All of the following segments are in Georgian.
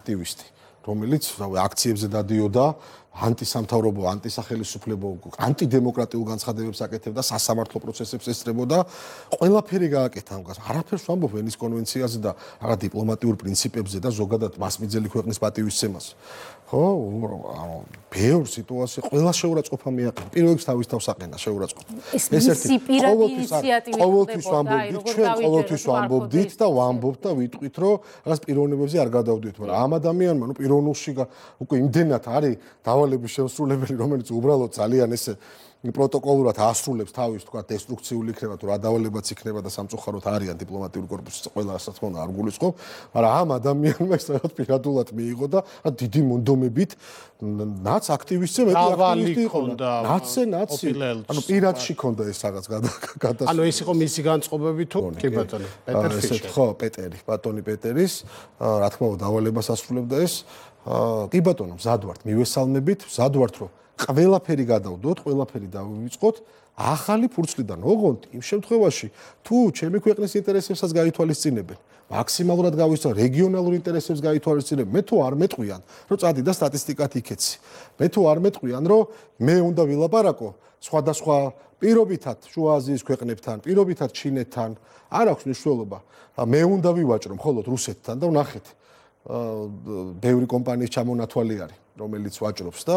აქტივისტი, რომელიც აქციებზე დადიოდა, ანტისამთავრობო, ანტისახელისუფლებო, ანტიდემოკრატიულ განცხადებებს აკეთებდა, სასამართლო პროცესებს ესწრებოდა, ყველაფერი გააკეთა ამას. არაფერს ვამბობ ვენის კონვენციაზე და რაღაც დიპლომატიურ პრინციპებზე და ზოგადად მასმიძელი ქვეყნის პატივისცემას. ხო, ბევრ სიტუაციაში ყველა შეურაცხყოფა მიაყენა. პირველ რიგში თავის თავს აყენა შეურაცხყოფა. ეს ერთი ყოველთვის ვამბობდით, ჩვენ ყოველთვის ვამბობდით და ვამბობთ და ვიტყვით, რომ რაღაც პიროვნებებზე არ გადავდივით, მაგრამ ამ ადამიანმა, პიროვნულში უკვე იმდენად არის დავალების შემსრულებელი, რომელიც უბრალოდ ძალიან ესე პროტოკოლურად ასრულებს თავის თქვა დესტრუქციული იქნება თუ რა დავალებაც იქნება და სამწუხაროდ არიან დიპლომატიური კორპუსის ყველა რასაც თქმა უნდა არ გულისხმობ, მაგრამ ამ ადამიანმა ეს რაღაც პირადულად მიიღო და დიდი მონდომებით ნაც აქტივისტზე მეტი აქტივისტი იყო. ნაცი. ანუ პირადში ქონდა ეს რაღაც გადასული. ანუ ეს იყო მისი განწყობები თუ კი ბატონო, პეტერ ფიჩერი. ხო, პეტერი, ბატონი პეტერის, რა თქმა უნდა დავალებას ასრულებდა ეს. კი ბატონო, მზად ვართ, მივესალმებით, მზად ვართ რომ ყველაფერი გადავდოთ, ყველაფერი დავივიწყოთ ახალი ფურცლიდან. ოღონდ იმ შემთხვევაში, თუ ჩემი ქვეყნის ინტერესებსაც გაითვალისწინებენ, მაქსიმალურად გავისწრებ რეგიონალურ ინტერესებს გაითვალისწინებენ, მე თუ არ მეტყვიან, რომ წადი და სტატისტიკად იქეცი. მე თუ არ მეტყვიან, რომ მე უნდა ვილაპარაკო სხვადასხვა პირობითად შუა აზიის ქვეყნებთან, პირობითად ჩინეთთან, არ აქვს მნიშვნელობა. მე უნდა ვივაჭრო მხოლოდ რუსეთთან და ვნახეთ. ბევრი კომპანიის ჩამონათვალი არის, რომელიც ვაჭრობს და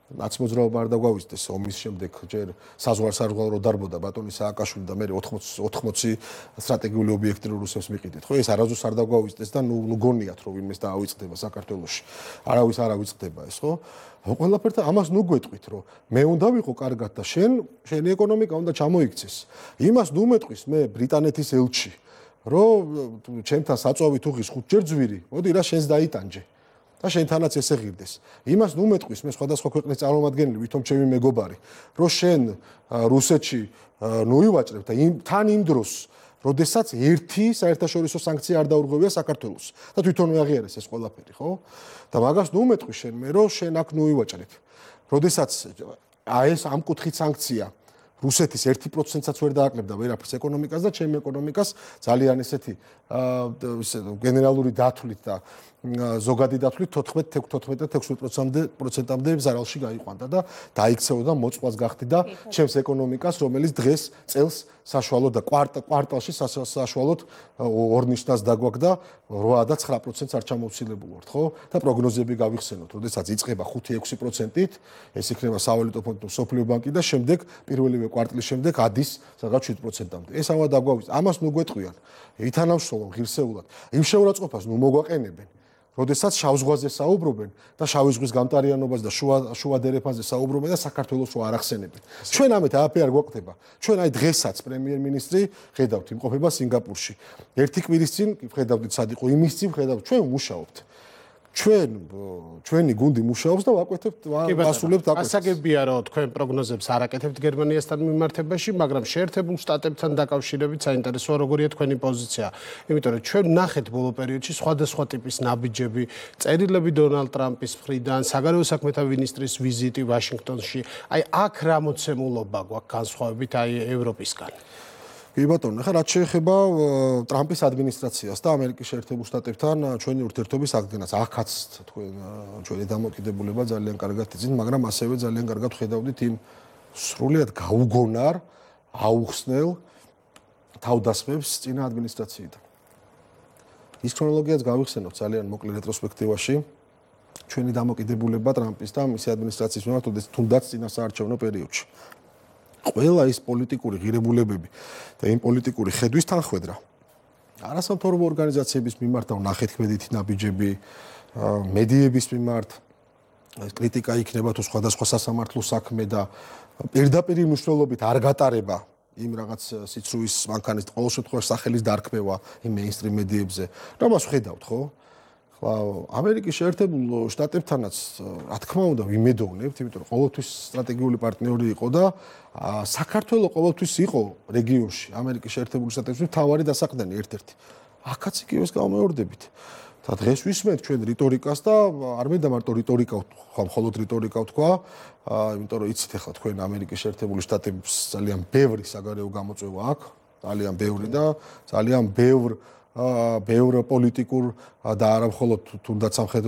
ნაცმოძრაობა არ დაგვავიწყდეს ომის შემდეგ ჯერ საზღვარსარღვაო რო დარბოდა ბატონი სააკაშვილი და მე 80 სტრატეგიული ობიექტი რო რუსებს მიყიდეთ. ხო, ეს არასდროს არ დაგვავიწყდეს და ნუ გონიათ რომ ვინმეს დაავიწყდება საქართველოში. არავის არ ავიწყდება ეს, ხო? ყველაფერთან ამას ნუ გვეტყვით რომ მე უნდა ვიყო კარგად და შენი ეკონომიკა უნდა ჩამოიქცეს. იმას ნუ მეტყვის მე ბრიტანეთის ელჩი რომ ჩემთან საწვავით უღის 5 ჯერ ძვირი, მოდი რა შენს დაიტანჯე. და შენთანაც ესე ღირდეს. იმას ნუ მეტყვის მე სხვადასხვა ქვეყნის წარმომადგენელი, ვითომ ჩემი მეგობარი, რომ შენ რუსეთში ნუ ივაჭრებ და თან იმ დროს, როდესაც ერთი საერთაშორისო სანქცია არ დაურღვევია საქართველოს და თვითონ მეაღიარეს ეს ყველაფერი, ხო? და მაგას ნუ მეტყვის შენ მე, რომ შენ აქ ნუ ივაჭრებ. როდესაც ეს ამ კუთხით სანქცია რუსეთის 1%-საც ვერ დააკლებდა ვერაფერს ეკონომიკას და ჩემი ეკონომიკას ძალიან ესეთი გენერალური დათვლით და ზოგადი დათვლით 14-16%-მდე ზარალში გაიყვანდა და დაიქცეოდა მოწყված გახდი და ჩემს ეკონომიკას, რომელიც დღეს წელს საშუალოდ და კვარტალში საშუალოდ 2 ნიშნას დაგვაქვს და 8 და 9%-ს არ ჩამოვცილებულ ვართ, ხო? და პროგნოზები გავიხსენოთ, როდესაც იწყება 5-6%-ით, ეს იქნება სავალუტო ფონდი, სოფლიო ბანკი და შემდეგ პირველივე კვარტლის შემდეგ ადის სადღაც 7%-მდე. ეს ამა დაგვავის. ამას ნუ გვეტყვიან. ითანამშრომლობ ღირსეულად. იმ შეურაცხყოფას ნუ მოგვაყენებენ. როდესაც შავ ზღვაზე საუბრობენ და შავი ზღვის გამტარიანობას და შუა დერეფანზე საუბრობენ და საქართველოს რო არ ახსენებენ. ჩვენ ამეთ არაფერი არ გვაკვდება. ჩვენ აი დღესაც პრემიერ-მინისტრი ხედავთ იმყოფება სინგაპურში. ერთი კვირის წინ ხედავდით სად იყო, იმის წინ ხედავთ, ჩვენ მუშაობთ. ჩვენი გუნდი მუშაობს და ვაკვეთებთ, ვასრულებთ აკეთებს. ასაგებია რომ თქვენ პროგნოზებს არ აკეთებთ გერმანიასთან მიმართებაში, მაგრამ შეერთებულ შტატებთან დაკავშირებით საინტერესოა როგორია თქვენი პოზიცია. იმიტომ რომ ჩვენ ვნახეთ ბოლო პერიოდში სხვადასხვა ტიპის ნაბიჯები, წერილები დონალდ ტრამპის მხრიდან, საგარეო საქმეთა მინისტრის ვიზიტი ვაშინგტონში. აი აქ რა მოცემულობა გვაქვს განსხვავებით აი ევროპისგან? კი ბატონო, ხა რაც შეეხება ტრამპის ადმინისტრაციას და ამერიკის შეერთებულ შტატებთან ჩვენი ურთიერთობის აღდგენას, ახაც თქვენ ჩვენი დამოკიდებულება ძალიან კარგად იცით, მაგრამ ასევე ძალიან კარგად ხედავდით იმ სრულიად გაუგონარ, აუხსნელ თავდასხმებს წინა ადმინისტრაციიდან. ის ქრონოლოგიაც გავიხსენოთ ძალიან მოკლე რეტროსპექტივაში. ჩვენი დამოკიდებულება ტრამპის და მისი ადმინისტრაციის მიმართ, თუნდაც წინა საარჩევნო პერიოდში. ყველა ის პოლიტიკური ღირებულებები და იმ პოლიტიკური ხედვის თანხwebdriver არასამთავრობო ორგანიზაციების მიმართ და ვნახეთ ქმედითი ნაბიჯები, მედიების მიმართ კრიტიკა იქნება თუ სხვადასხვა სასამართლო საქმე და პირდაპირ მნიშვნელობით არ გატარება იმ რაღაც სიცრუის მანქანის ყოველ შემთხვევაში სახელის დარქმევა იმ მეინსტრიმ მედიებზე. რამას ვხედავთ, ხო? ხლა ამერიკის შეერთებულ შტატებთანაც რა თქმა უნდა ვიმედოვნებთ, იმიტომ რომ ყოველთვის სტრატეგიული პარტნიორი იყო და საქართველოს ყოველთვის იყო რეგიონში ამერიკის შეერთებული შტატებში მთავარი დასაყრდენი ერთ-ერთი. აქაც იგივეს გამეორდებით. და დღეს ვისმენთ ჩვენ რიტორიკას და არ მინდა მარტო რიტორიკა ვთქვა, მხოლოდ რიტორიკა ვთქვა, იმიტომ რომ იცით ახლა თქვენ ამერიკის შეერთებული შტატების ძალიან ბევრი საგარეო გამოწვევა აქვს, ძალიან ბევრი და ძალიან ბევრ ბევრ პოლიტიკურ და არა მხოლოდ თუნდაც სამხედრო